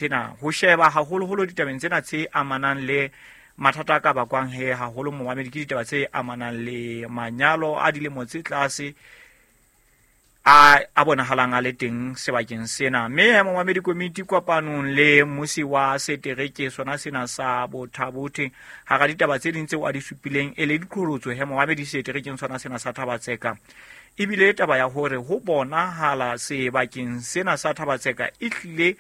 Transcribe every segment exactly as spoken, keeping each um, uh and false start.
Sena ho sheba haholoholo ditabeng tsena tse amanang le mathata a ka bakwang he haholo momamedi ke ditaba tse amanang le manyalo a dilemo tse tlase a a bonahalang a le teng sebakeng sena. Mme he momamedi komiti kopanong le mmusi wa setereke sona sena sa Botha-Bothe hara ditaba tse ding tseo a di supileng e le diqholotso he momamedi seterekeng sona sena sa Thaba-Tseka. Ebile taba ya hore ho bonahala sebakeng sena sa Thaba-Tseka e hlile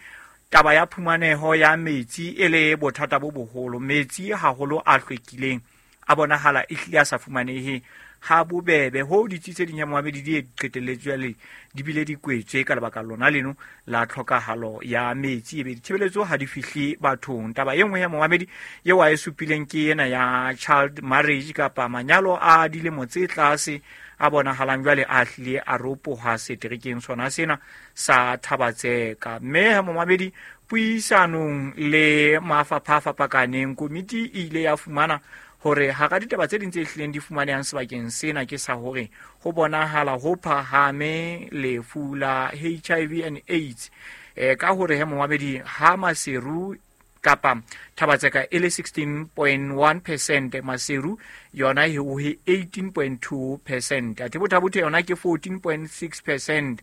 taba ya phumaneho ya metsi e le bothata bo boholo. Metsi haholo a hlwekileng a bonahala e hlile a sa fumanehe ha bobebe ho ditsi tse ding ya momamedi di qetelletse jwale di bile di kwetswe ka lebaka lona leno la tlhokahalo ya metsi, ebe ditshebeletso ha di fihle bathong. Taba e nngwe ya momamedi eo a e supileng ke ena ya child marriage kapa manyalo a dilemo tse tlase a bonahalang jwale a hlile a ropoha seterekeng sona sena sa Thaba-Tseka. Mme ha momamedi puisanong le mafapha a fapakaneng komiti e ile ya fumana hore hara ditaba tse ding tse hlileng di fumanehang sebakeng sena ke sa hore ho bonahala ho phahame lefu la H I V and AIDS. E, ka hore he momamedi ha Maseru kapa Thaba-Tseka e le sixteen point one percent, Maseru yona e ho eighteen point two percent, athe Botha-Bothe yona ke fourteen point six percent,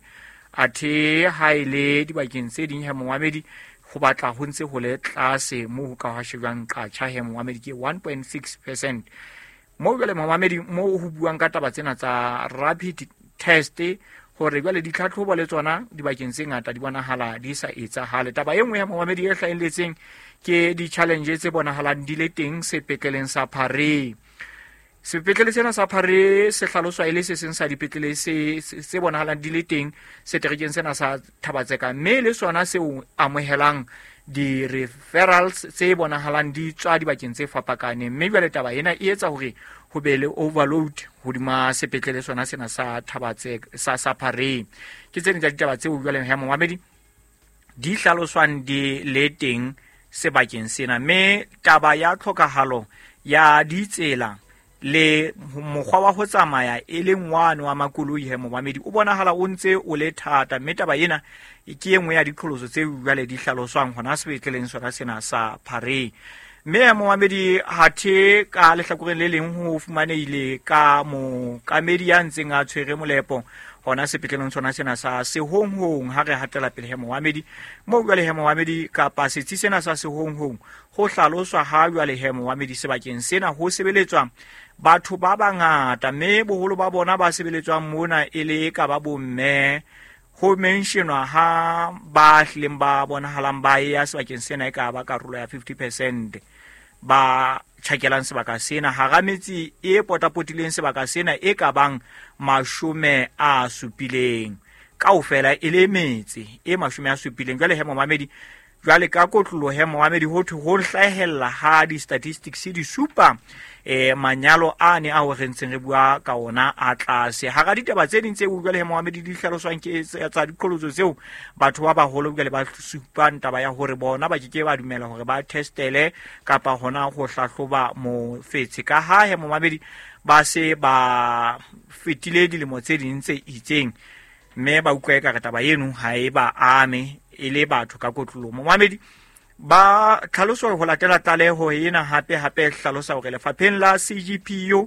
athe ha e le dibakeng tse ding he momamedi ho batla ho ntse ho le tlase moo ho ka hwa shejwang qatjha he momamedi ke one point six percent. Moo jwale momamedi moo ho buang ka taba tsena tsa rapid test hore jwale ditlhatlhobo le tsona dibakeng tse ngata di bonahala di sa etsahale. Taba e nngwe ya momamedi e hlahelletseng ke di-challenge tse bonahalang di le teng sepetleleng sa Phare. Sepetlele sena sa Phare se hlaloswa e le se seng sa dipetlele se, se, se bonahalang di le teng seterekeng sena sa Thaba-Tseka, mme le sona seo amohelang di-referrals tse bonahalang di tswa dibakeng tse fapakaneng. Mme jwale taba ena e etsa hore ho be le overload hodima sepetlele sona sena sa Thaba-Tseka, sa, sa Phare. Ke tse ding tsa ditaba tseo jwale ya momamedi di hlaloswang di le teng sebakeng sena. Mme taba ya tlhokahalo ya ditsela le mokgwa wa ho tsamaya e leng wane wa makoloi he momamedi o bonahala o ntse o le thata, mme taba ena ke e nngwe ya diqholotso tse jwale di hlaloswang hona sepetleleng sona sena sa Phare. Mme momamedi hathe ka lehlakoreng le leng ho fumanehile ka mookamedi ya ntseng a tshwere molepo hona sepetleleng sona sena sa Sehonghong. Ha re hatela pele he momamedi moo jwale he momamedi kapa setsi sena sa Sehonghong ho hlaloswa ha jwale he momamedi sebakeng sena ho sebeletswa batho ba bangata, mme boholo ba bona ba sebeletswang mona e le ka ba bomme. Ho mentionwa ha ba hlileng ba bonahalang ba ya sebakeng sena e ka ba karolo ya fifty percent ba tjhakelang sebaka sena hara metse e potapotileng sebaka sena e ka bang mashome a supileng kaofela e le metse e mashome a supileng. Jwale he momamedi jwale ka kotlolo he momamedi ho thwe ho hlahella ha di-statistics di supa eh manyalo a ne a ho re ntseng re bua ka ona a tlase. Hara ditaba tse ding tse jwale he momamedi di hlaloswang ke tsa diqholotso tseo batho ba baholo jwale ba supang taba ya hore bona ba ke ke ba dumela hore ba testele kapa hona ho hlahloba mofetshe ka ha he momamedi ba se ba fetile dilemo tse ding tse itseng, mme ba utlwa ekare taba eno ha e ba ame e le batho ka kotlolo. Momamedi ba tlhaloso ho latela tlaleho ena hape hape hlalosa hore lefapheng la C G P U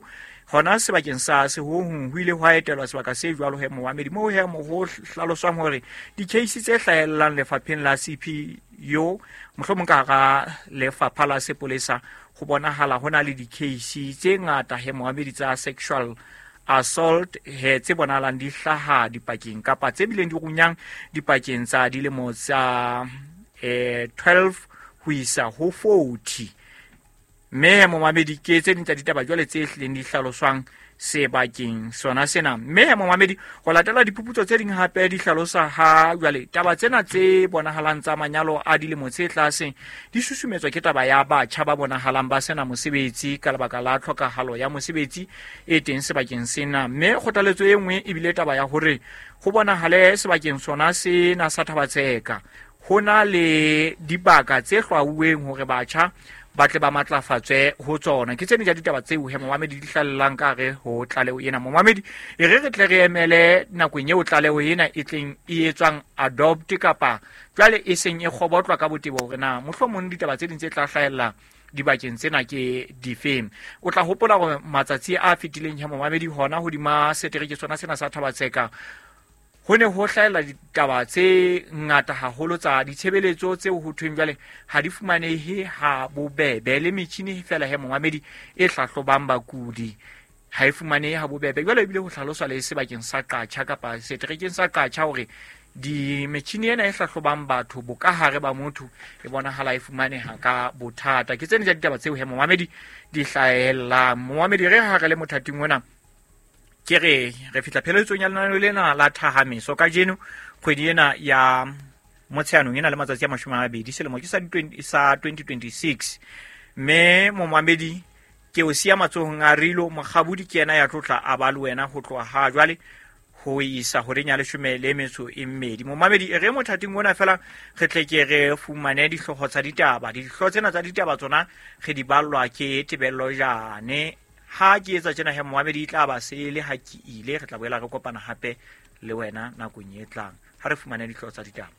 hona sebakeng sa Sehonghong ho ile hwa etelwa sebaka se jwalo he momamedi moo he mo ho hlaloswang hore di-case tse hlahellang lefapheng la C P U mohlomong ka hara lefapha la sepolesa ho bonahala ho na le di-case tse ngata he momamedi tsa sexual assault he tse bonahalang di hlaha dipakeng kapa tse bileng di runyang dipakeng tsa dilemo tsa eh twelve ho isa ho forty. Mme momamedi ke tse ding tsa ditaba jwale tse hlileng di hlaloswang sebakeng sona sena. Mme momamedi ho latela diphuputso tse ding hape di hlalosa ha jwale taba tsena tse bonahalang tsa manyalo a dilemo tse tlase di susumetswa ke taba ya batjha ba bonahalang ba sena mosebetsi ka lebaka la tlhokahalo ya mosebetsi e teng sebakeng sena. Mme kgothaletso e nngwe ebile taba ya hore ho bonahale sebakeng sona sena sa Thaba-Tseka ho na le dibaka tse hlwauweng hore batjha ba tle ba matlafatswe ho tsona. Ke tsene ja ditaba tseo he momamedi di hlallang ka re ho tlaleho ena. Momamedi e re re tle re emele nakong eo tlaleho ena e tleng e etswang adopt kapa jwale e seng e kgobotlwa ka botebo hore na mohlomong ditaba tse ding tse tla hlahella dibakeng tsena ke difeng. O tla hopola hore matsatsi a fetileng he momamedi hona hodima setereke sona sena sa Thaba-Tseka ho ne ho hlahella ditaba tse ngata haholo tsa ditshebeletso tseo ho thweng jwale ha di fumanehe ha bobebe, le metjhini fela he momamedi e hlahlobang bakudi ha e fumanehe ha bobebe. Jwale ebile ho hlaloswa le sebakeng sa Qacha kapa seterekeng sa Qacha hore di metjhini ena e hlahlobang batho bokahare ba motho e bonahala e fumaneha ka bothata. Ke tsene tsa ditaba tseo he momamedi di hlahellang. Momamedi re ha re le mothating ona ke re re fihla pheletsong ya lenaneo lena la Thahameso kajeno kgwedi ena ya Motsheanong ena le matsatsi a mashome a mabedi selemo ke sa sa twenty twenty-six. Mme momamedi ke o siya matsohong a Rilo Mokgabudi, ke yena ya tlotla a ba le wena ho tloha ha jwale ho isa horeng ya leshome le metso e mmedi. Momamedi e re mothating ona fela re tle ke re fumane dihlooho tsa ditaba. Dihlooho tsena tsa ditaba tsona re di ballwa ke Tebello Jane. Ha ke etsa tjena he momamedi e tla ba sele ha ke ile, re tla boela re kopana hape le wena nakong e tlang ha re fumane dihlooho tsa ditaba.